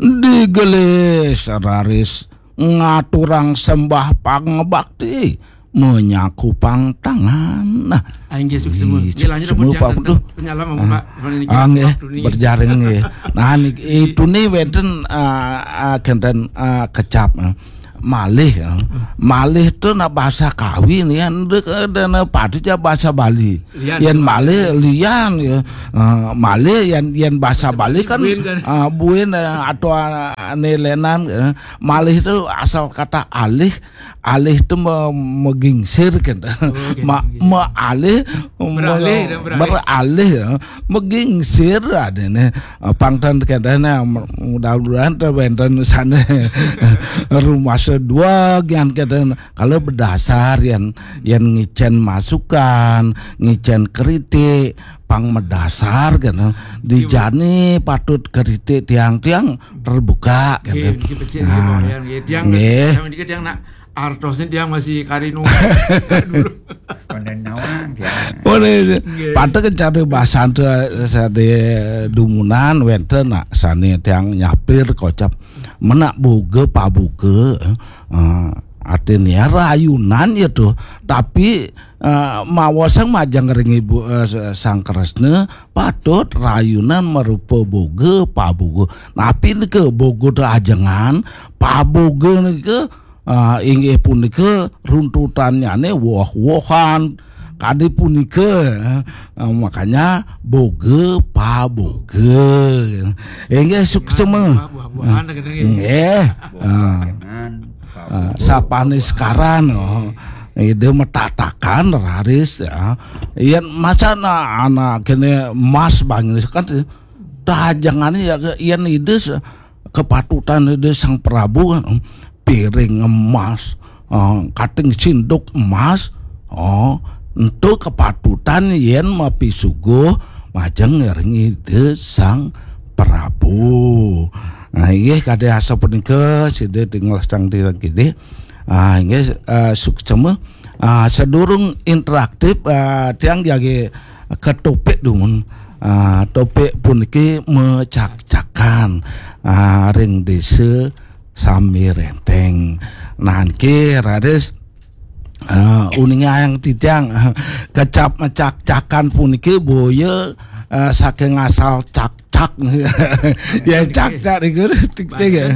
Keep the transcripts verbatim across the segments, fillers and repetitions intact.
digelis raris ngaturang sembah pangabakti, menyakupang tangan. Nah, Ah, inggih, suksma. ih, Inggih, lanjut, suksma, pun Pak, jangan betul. Penyala, Pak, niki Ah, nggih, waktu niki. Berjaring nggih. Nah, niki itu nih wenten, ah, ah, kenten, ah, kecap, ah. Malih, ah. Malih itu nak bahasa Kawi nih, kan, de-, de-, de-, padu ja bahasa Bali. Lian. Yen malih lian ya. Ah, malih yen, yen bahasa Bali kan, Buin kan. Ah, buin, eh, atau, ah, ane lenan, eh. Malih itu asal kata alih, alih itu me-, megingsir kan. Oke, Ma-, oke. Mealih, Beralih, me-, dan beralih. Beralih ya. Megingsir ada nih. Ah, pangtan kadang, nah, mudah-mudahan tuh wenten sana rumah sedua gian kadang. Kalau berdasar yang, yang ngicen masukan, ngicen kritik, pang medasar kan. Dijani patut kritik tiang-tiang terbuka kan. Nggih, niki becik, Nah, nggih, Pak Yan, nggih. Tiang nggih. Sami niki tiang nak artosnya tiang masih karinu dulu. Konden nawang ya. Oh, ini Nggih. Patut kencana bahasan tu, sade dumunan wenten nak sane tiang nyapir kocap menak boga paboga, eh, artinya rayunan ya tuh, tapi, eh, mawasang majeng ring ibu, eh, Sang Kresna patut rayunan merupa boga paboga. Napi nika boga tu ajengan, paboga nika, ah, inggih punika runtutannyane woh-wohan. Kadi punika, eh, makanya boga paboga. Inggih suksma. Buah-buahan, nggih. Nggih. Ah, Dengan ah, sapane sekaran, oh. Ida metatakan raris ya. Yen masa na anak kene emas bangis kan tajangane ya, yen ida se-, kepatutan ida Sang Prabu kan, piring emas, eh, kating sinduk emas, oh, entu kepatutan yen mapisuguh majeng ring ida Sang Prabu. Nah, inggih kade asa punika sida tinggal sang tira kidi. Ah, inggih, eh, suksma. Ah, sedurung interaktif, ah, tiang jagi ke topik dumun. Ah, topik puniki mecak-cakan, ah, ring desa Sami Renteng. Nah, niki raris, ah, uning ayang titiang, kecap mecak-cakan puniki boya, ah, saking asal cak-cak. Ya, cak-cak niku tik-tik ya.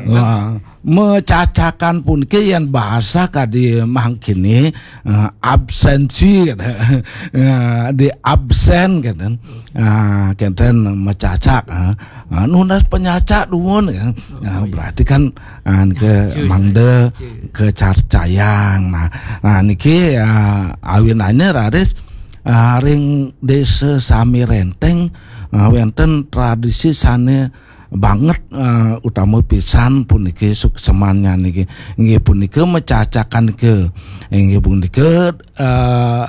Wah, mecacakan puniki yen bahasa kadi mangkini, eh, absensi, eh, di absen kenten. Ah, kenten mecacak, eh. Ah, nunas penyacak dumun ya. Ah, berarti kan, ah, ke Cuy, mangda cuy. Kecarcayang. Nah, nah niki, ah, awinane raris, ah, ring desa Sami Renteng, ah, wenten tradisi sane banget, eh, utama pisan puniki suksemannya niki. Inggih punika mecacakan ke. Inggih punika, eh,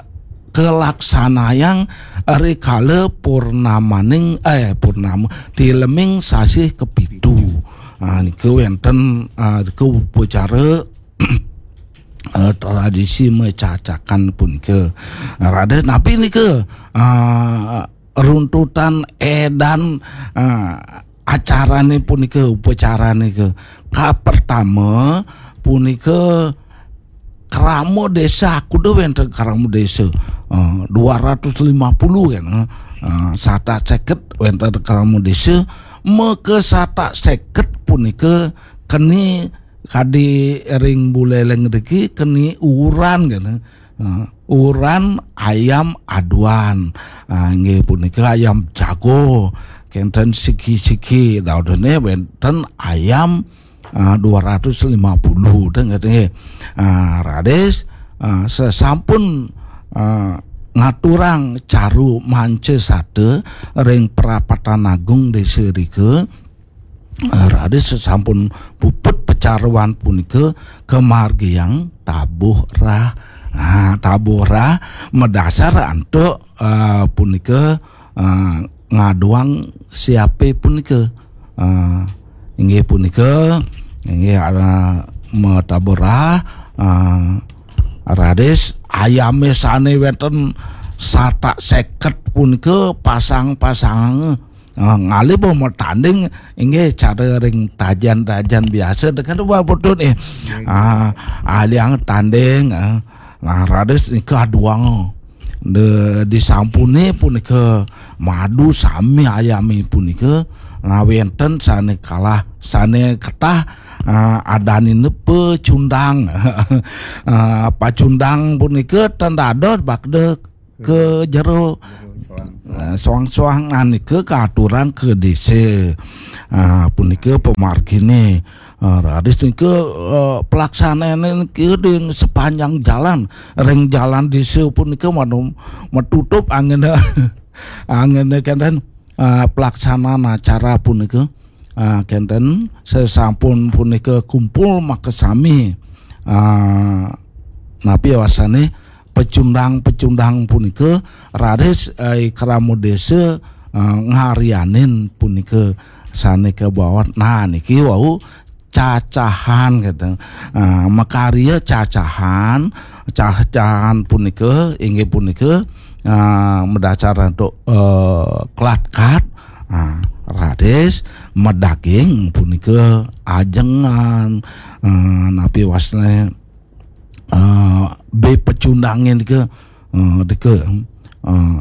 kelaksanayang rikala purnamaning, eh, purnama, tileming sasih kepitu. Ah, nika wenten, ah, nika upacara, eh, tradisi mecacakan punika. Radah napi nika, ah, runtutan edan, ah, acarane punika, upacarane ke. Ka pertama punika krama desa, aku dah wenten krama desa. Ah, dua ratus lima puluh kan. Ah, satak seket wenten krama desa. Maka satak seket punika keni kadi ring buleleng riki keni uran kan. Ah, uran ayam aduan. Ah, inggih punika ayam jago. Kenten siki-siki daudene wenten ayam, ah, dua ratus lima puluh deh nggih. Ah, raris, ah, sesampun, ah, ngaturang caru manca sata ring Prapatan Agung Desa Rika, eh, raris sesampun puput pecaruan punika kemargiang tabuh rah. Ah, tabuh rah medasar antuk, eh, punika, eh, ngaduang siape punika. Eh, inggih punika, inggih ada metabuh rah, eh, raris ayame sane wenten satak seket punika pasang-pasang Ah, ngalih ba matanding inggih cara ring tajan-tajan biasa, deket ba putut nih. Ah, aliang tanding, ah. Nah, raris nika aduang. De, disampune punika madu sami ayami punika, nah, wenten sane kalah, sane ketah, ah, adanine pecundang. Ah, pacundang punika ten dados bakda ke jero, eh, soang-soang, nah, nika katurang ke desa. Ah, punika pamargine. Ah, raris nika, eh, pelaksanane nika di sepanjang jalan, ring jalan desa punika manu-, matutup anggene, anggene kenten, ah, pelaksanaan acara punika. Ah, kenten sesampun punika kumpul makasami, ah, napi wasane pecundang-pecundang punika raris, eh, krama desa, eh, ngarianin punika sane kabaos. Nah, niki wau cacahan, gitu. Eh, makarya cacahan, cacahan punika inggih punika, eh, madasar antuk, eh, klat-kat, eh, raris madaging punika ajengan, eh, napi wasane, eh, be pecundangin ke, eh, deke, eh,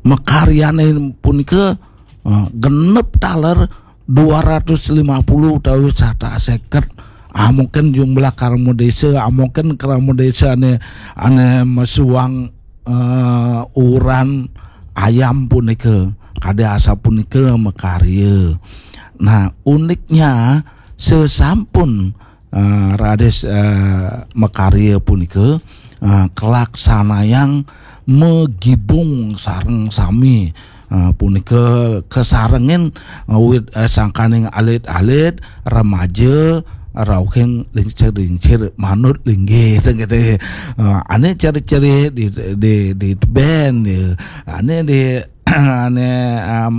makaryane punika, eh, genep taler dua ratus lima puluh utawi satus seket. Ah, mungkin jumlah krama desa, ah, mungkin krama desa ane, ane masuang, eh, uran ayam punika, kadi asapunika makarya. Nah, uniknya sesampun, eh, raris, eh, makarya punika, eh, kalaksanayang magibung sareng sami, eh, punika kasarengin, eh, wit, eh, sangkaning alit-alit, remaja, rauhing lingsir-lingsir manut linggih, gitu. Eh, ane ciri-ciri di, di, di teben, ya. Ane di, ane, em,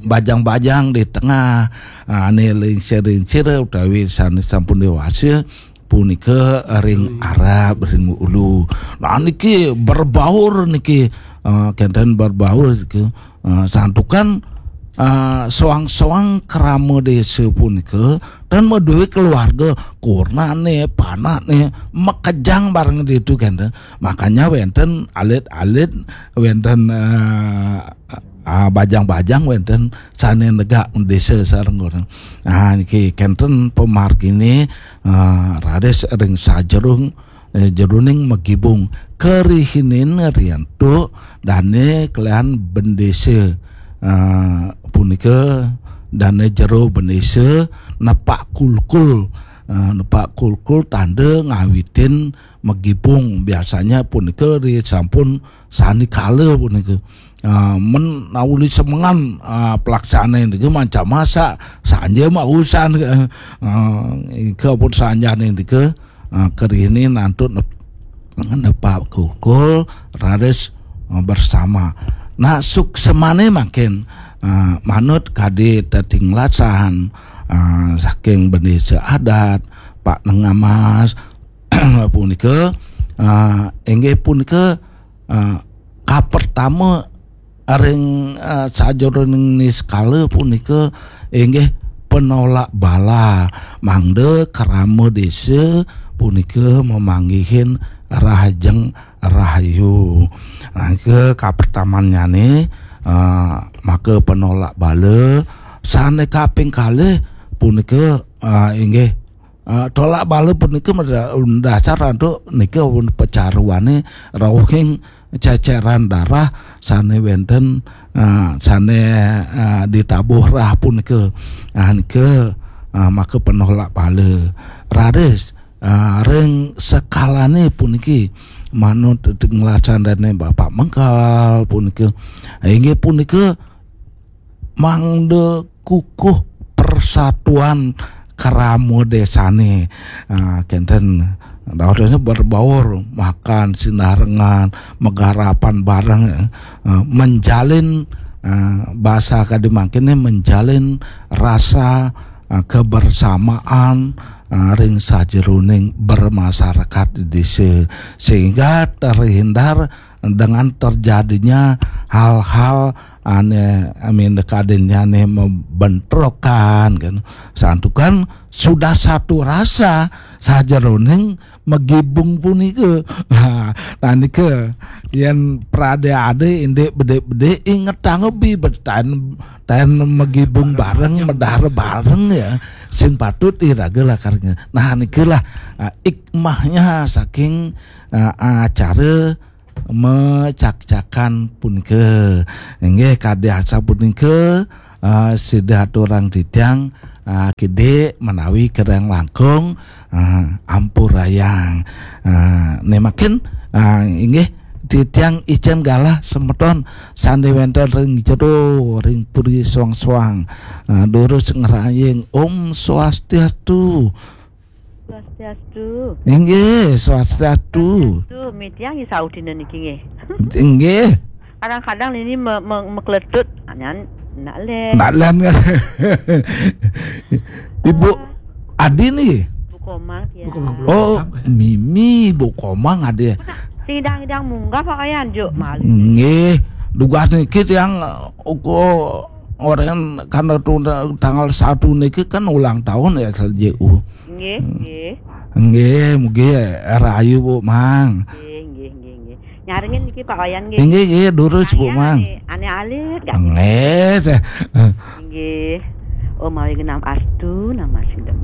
bajang-bajang di tengah, ane lingsir-lingsir utawi sane sampun dewasa punika ring arep, ring ulu. Nah, niki berbaur niki, eh, kenten berbaur niki. Eh, santukan, eh, soang-soang krama desa punika dan maduwe keluarga, kurnane, panakne, makejang bareng ditu kenten. Makanya wenten alit-alit, wenten, eh, ah, bajang-bajang, wenten sane negak desa sareng kurnane. Ah, niki kenten pamargine, ah, raris ring sajerung, eh, jeroning magibung. Karihinin riantuk dane kalian bendesa, ah, punika dane jero bendesa nepak kulkul. Ah, nepak kulkul tanda ngawitin magibung. Biasanya punika ri sampun sanikala punika. Ah, men nauli semengan, ah, pelaksana niki macam masak, sanja mausan, ah, ika pun sanjane nika, ah, karihinin antuk nep-, nepak kulkul, raris, ah, bersama. Nah, suksemane mangkin, ah, manut kadi tetinglasan, ah, saking bendesa adat, Pak Nengamas, punika, ah, inggih punika, ah, kapertama ring, ah, sajeroning niskala punika inggih penolak bala, mangda krama desa punika mamanggihin rahajeng rahayu. Nah, ke kapertamannyane, ah, maka penolak bala, sane kaping kalih punika, ah, inggih Ah, tolak bala punika mada-, dasar antuk nika pun pecaruane rauhing ceceran darah sane wenten, ah, sane, ah, ditabuh rah punika. Ah, nika, ah, maka penolak bala. Raris, ah, ring sekalane puniki manut tinglasan dane Bapak Mengkal punika. Inggih punika mangda kukuh persatuan krama desane. Ah, kenten. Dawetnya berbaur, makan, sinarengan, megarapan bareng, ah, menjalin, ah, bahasa kadi mangkene, menjalin rasa, ah, kebersamaan, ah, ring sajeroning bermasyarakat di desa, sehingga terhindar dengan terjadinya hal-hal ane amin kadenya ane membentrokan kan. Santukan sudah satu rasa sajeroning magibung punika. Nah, nah nika yen prade-ade indik bedik-bedik ingetang ubi betaen taen magibung bareng, medar bareng ya. Sing patut iraga lakar nge-, nah nikalah ah, hikmahnya saking ah, acara mecakcakan punika. Inggih kadi asapunika ah, sida aturang titiang ah, kidik menawi kirang langkung ah, ampurayang. Ah, nemakin ah, inggih titiang icen galah semeton sandi wenten ring jero ring puri suang-suang. Ah, durus ngeraying Om Swastiastu. Swastiastu. Inggih, swastiastu. Swastiastu. Mitiang isaudina niki nggih. Inggih. Kadang-kadang ini me, me, mekletut anyan nak len. Nak len kan. Ibu Adi nih. Bu Komang ya. Bu Komang belum. Oh, Mimi Bu Komang Adi. Sidang-sidang munggah Pak Ayan juk malih. Nggih, dugas niki tiang uga orang karena tanggal satu niki kan ulang tahun ya S L J U. Nggih, nggih. Nggih, mugi rahayu Bu Mang. Nggih, nggih, nggih, nggih. Nyarengin niki Pak Wayan nggih. Nggih, nggih, durus Bu Mang. Ane, ane alit gak? Nggih, teh. Nggih. Oh, mawi genam astu nama sidem.